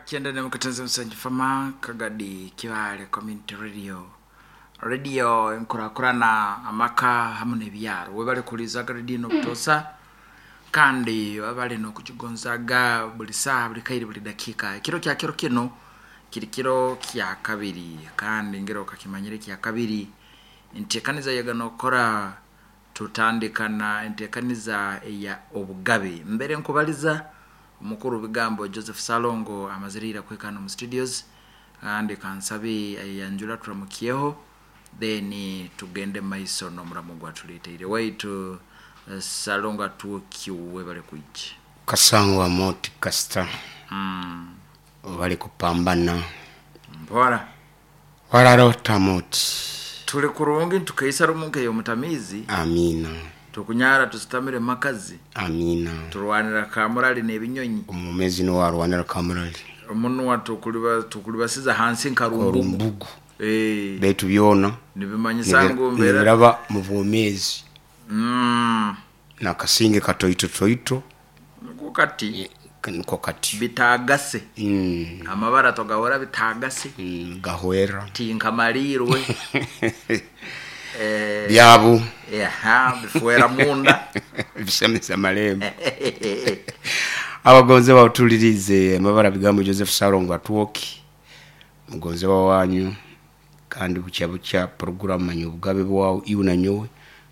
9 katenze Fama Kagadi Kibale Community Radio, radio enkurakurana amaka hamu n'ebyaro. Webale kulizaga radio n'obutosa, kandi webale n'okukigonzaga buli saaha, buli kaire, buli dakiika. Ekiro kya kiro kino kiri kiro kya kabiri, kandi ngero okakimanyire kya kabiri enteekaniza yega n'okukora. Tutandika na enteekaniza eya obugabe. Mbere nkubaliza omukuru bigambo Joseph Salongo amazire kwekana mu studios, kandi kansabe ayanjura turamukyeho, then tugende maiso n'omuramu gwatuleteire. Waitu Salongo atukiwe, bale kuija. Kasangwa moti kasita. Bali kupambana. Mpora. Wararota moti. Tuli kurungi, tukaisa rumu nk'ey'omutamiizi. Amina. Tukunyara tusitamire makazi. Amina. Turwanira kamurali n'ebinyonyi. Omumezi niwarwanira kamurali. Omunwa tukulibasiza hansi nka rumbugu. Orumbugu. Eh, baitu byona nibimanyisa ngu mbeera nibiraba mu bwomeezi. Nakasinge katoito toito. Niko kati. Niko kati. Bitagase. Amabara togahora bitagase. Gahwera. Tinkamalirwe. Eh, byabu. Yaha, bifuera munda. Bisemesa amalembo. Abagonze bawutulirize, amabara bigambo Joseph Salongo atwoki, mugonze wanyu, kandi bukya bukya poroguramu manya obugabe bwawe iwe na nyowe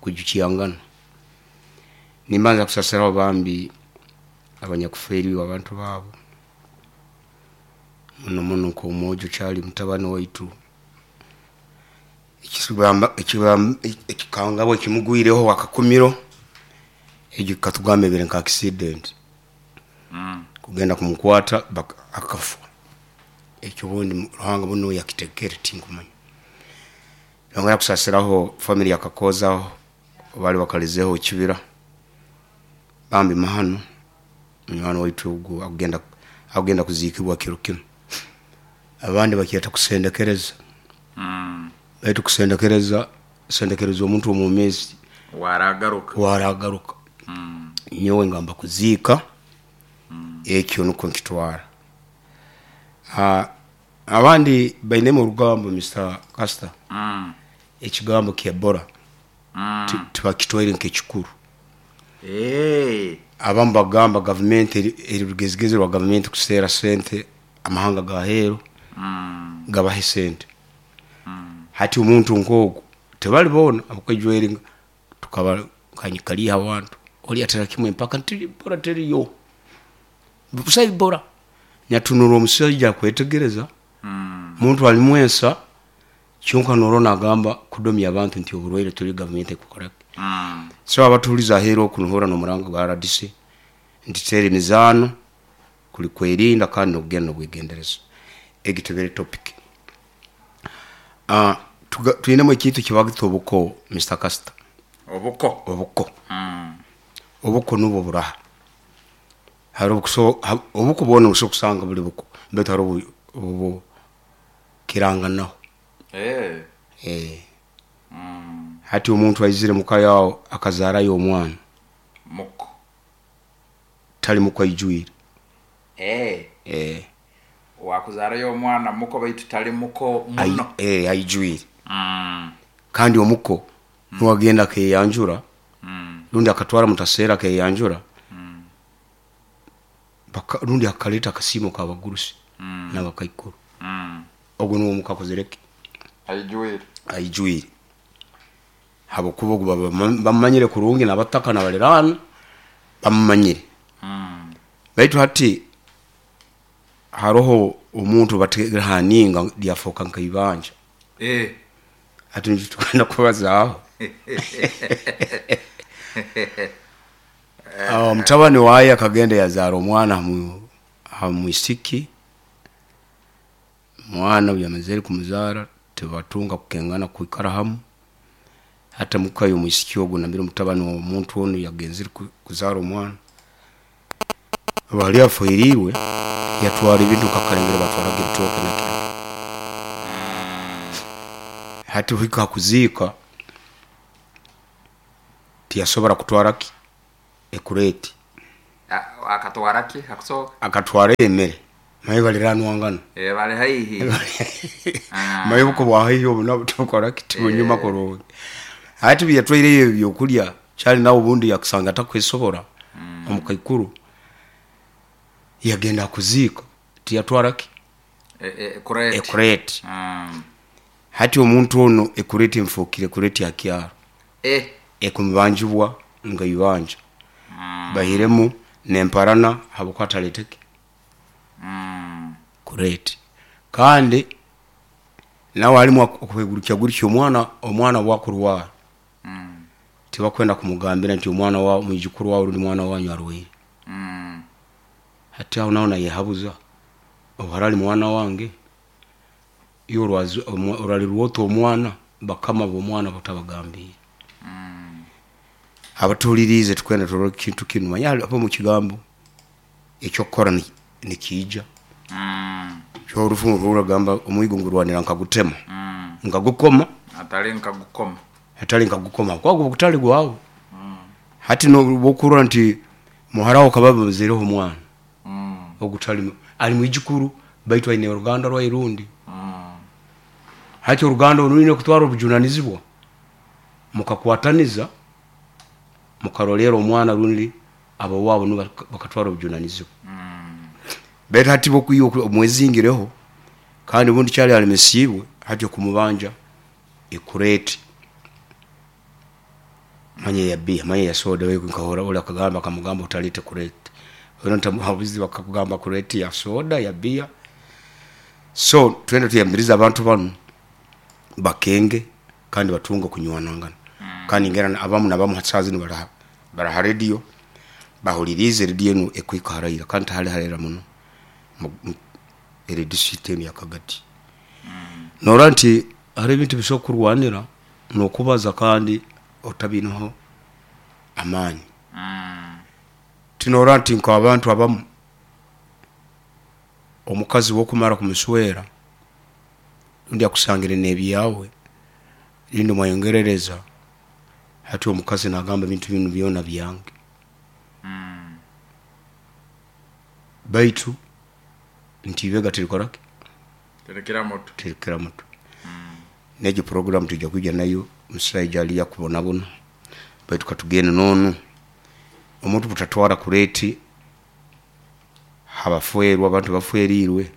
kujukiyangana. Nimbanza kusasiraho bambi abanyakuferiwe abantu baabo muno muno, nk'omwojo kyali mutabani waitu. Ekikangabwa ekimugwireho akakumiro egyo katugamba ebere nka accident. Kugenda kumukwata akafa. Ekyo obundi Ruhanga buno yakitegere, tinkumanya. Yongera kusasiraho family yakakozaho bali bakalizeho ekibira bambi mahano. Munywani waitu ogu agenda kuziikibwa kiro kinu. Abandi bakyeta kusendekereza. Baitu kusendekereza, sendekereza omuntu omwomezi. Waragaruka. Waragaruka. Nyowe ngamba kuziika ekyo nukwo nkitwara. Ah, abandi bainemu orugambo, Mr Caster. Ekigambo kyebora tibakitwaire nk'ekikuru. Eh, abamu bagamba gavumenti eri rugezigezi rwa gavumenti kuseera sente amahanga gaheeru gabahe sente. Hati omuntu nk'ogu tebali boona abakwijweri tukaba kanyikaliha abantu oli atera kimwe mpaka nti bora teriyo busayi bora nyatunura omusajja akwetegereza. Muntu alimwensa kyonka norona agamba kudomya abantu nti oburwaire tuli gavumenti ekukora. So abatuliza aheeru okunuhura n'omurango gwa RDC nti tera emizaano kuli kwerinda kandi nokugenda nobwegendereza. Egi tebere topic. Twinemu ekintu kibagita obuko, Mr Caster. Obuko. Obuko. Obuko nubwo buraha hari obuko bwona busobola kusanga buli buko, baitu hari obu kiranganaho. Eh. Eh. Hati omuntu aizire muka yawe akazarayo omwana. Muko. Tali muko aijwire. Eh. Eh. Wakuzarayo omwana muko, baitu tali muko muno. Eh, aijwire. Kandi omuko niwagenda akeyanjura rundi akatwara mutaseera akeyanjura rundi akaleta akasiimo kabagurusi n'abakaikuru. Ogwo niwo omuko akozereki. Aijuire. Aijwire, habwokuba ogu baba bamumanyire kurungi n'abataka n'abaliraana bamumanyire. Baitu hati haroho omuntu bategere haninga lyafoka nkaibanja. Eh. Hati nikyo tugenda kubazaaho. Ah, mutabani waye akagenda yazaara omwana ha mwisiki. Mwana obu yamazire kumuzaara, tibatunga kukengana kwikara hamu. Hata muka y'omwisiki ogu nambere omutabani w'omuntu onu yagenzere kuzaara omwana bali aferiirwe, yatwara ebintu nkakalengere batwaraga ebitooke nakiro. Hati hika hakuziika tiyasobora kutwara ki ekureti. Akatwara ki hakusooka? Akatwara emere. Maye baliranwangana. Bali haihi. Maye obuko bwa haihi obu nabwo tibukora ki, tibunyuma kurungi. Hati biyatwaireyo ebyokulya kyali nawe obundi yakusanga atakwesobora omukaikuru yagenda kuziika tiyatwara ki? Ekureti. Ekureti. Hati omuntu onu ekureti emufukire ekureti ya kyaro. Ekumubanjibwa nga ibanja. Baihiremu nemparana habwokuba atalete ki? Kureti. Kandi nawe alimu okwegurukyagurukya omwana obwakurwara tibakwenda kumugambira nti omwana wawe, mwijukuru wawe rundi mwana wanyu arwaire. Hati aho nawe nayehabuza obu ali mwana wange, iwe oralirwa ota omwana bakama bomwana otabagambiire. Abatuhuliriize tukwenda turole ekintu kinu, manya haroho omu kigambo ekyokukora nikiija. Orufumu rugamba omwigo ngurwanira nkagutema, nkagukoma. Atali nkagukoma. Atali nkagukoma, kuba guba gutali gwawe. Hati nobu okurora nti muhara we akaba amuzaireho omwana, ogutali ali mwijukuru baitu aine oruganda rwaye rundi. Hati oruganda oru rwine kutwara obujunanizibwa mukakwataniza mukarolera omwana rundi abowaabo nibo bakatwara obujunanizibwa. Baitu hati bwokwiha omwezingireho kandi obundi kyali alemesiibwe hati okumubanja ekureti manya eya biya manya eya soda oli akagamba akamugamba otaleta kureti bakakugamba kureti ya soda ya biya. So twena tuyambirize abantu banu bakenge kandi batunge okunywanangana. Kandi ngira abamu nabamu hati saaha zinu bari ha rediyo bahuliriize rediyo enu ekuhika haraira kandi tihali haraira muno eri disiturikiti enu eya Kagadi. Norora nti hariho ebintu ebisobola kurwanira nokubaza kandi otabiineho amaani. Tinorora nti nk'abantu abamu omukazi bwokumara kumuswera rundi akusangire n'ebyawe rundi mwayongerereza, hati omukazi nagamba ebintu binu byona byange. Baitu nti ibega tirikora ki? Tirikira mutwe. Tirikira mutwe. Negyo puroguramu twija kwija nayo omusaija ali akubonabona baitu katugende n'onu omuntu butatwara kureti habafwerwa abantu abafwerirwe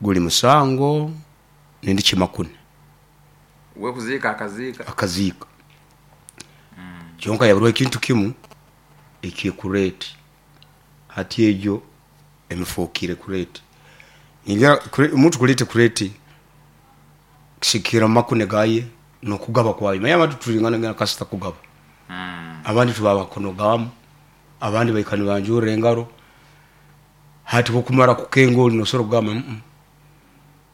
guli musango nindi kimakune. We kuziika akaziika. Akaziika. Kyonka yaburwaho ekintu kimu ekyekureti. Hati egyo emufukire kureti. Omuntu kuleta kureti kisigikira mumakune gaye nokugaba kwaye. Manya abantu tituringana kasita kugaba. Abandi tubaha makono gamu, abandi baikara nibanjura engaro. Hati bwokumara kukenga oli nosobora kugamba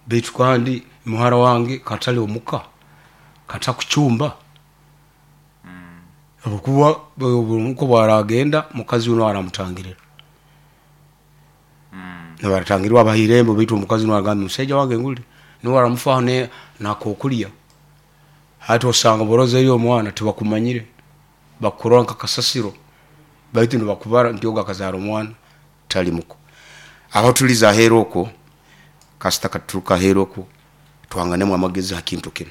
baitu kandi muhara wange katali omuka, katakucumba habwokuba omuko bwaragenda mukazi we nuwe aramutangirira. Nibaratangirwa abaha irembo baitu omukazi nuwe aragamba omusaija wange nguli nuwe aramufaho nakokulya. Hati osanga borozeyo omwana tibakumanyire, bakurora nka kasasiro baitu nibakubara nti ogu akazara omwana tali muko. Aho tuliza aheeru okwo, kasita katuruka aheeru okwo twanganemu amagezi ha kintu kinu.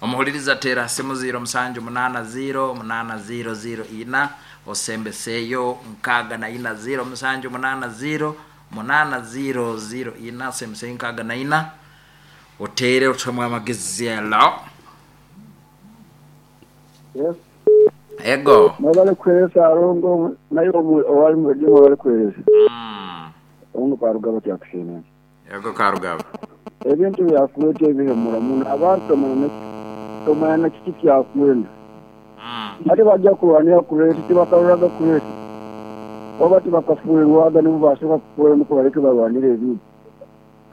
Omuhuliriza tera simu 0 7 8 0 8 0 0 4 osembeseyo 64 0 7 8 0 8 0 0 4 osembeseyo 64 otere otuhemu amagezi. Hello. Yes. Ego. Mwebale kuheereza Arongo naye owali mu rediyo mwebale kuheereza. Obundi Karugaba kyakusiima. Ego Karugaba. Ebintu byakweta ebihemura muno abantu tomanya na kiki kyakwenda. Ate bajja kurwanira kureti tibakaroraga kureti. Oba tibakafuirwaga nibo basobola kufuira nukwo baleke barwanire ebintu.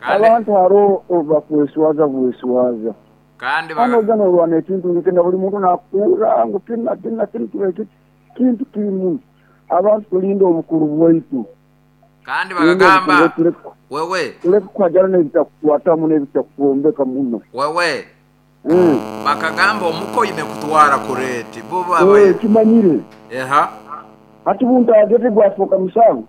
Abantu hariho bakweswaza bweswaza. Kandi Hano ojja norwana ekintu nikenda buli muntu nakuura ngu kinu kinu na kinu kibe kiti kintu kimu. Abantu tulinde obukuru bwaitu. Kandi bakagamba wewe tuleke kuhajana n'ebitakukwatamu n'ebitakwombeka muno. Wewe. Bakagamba omuko oine kutwara kureti. Bo baba Kimanyire. Eha. Hati buntu agete gwafuuka musango.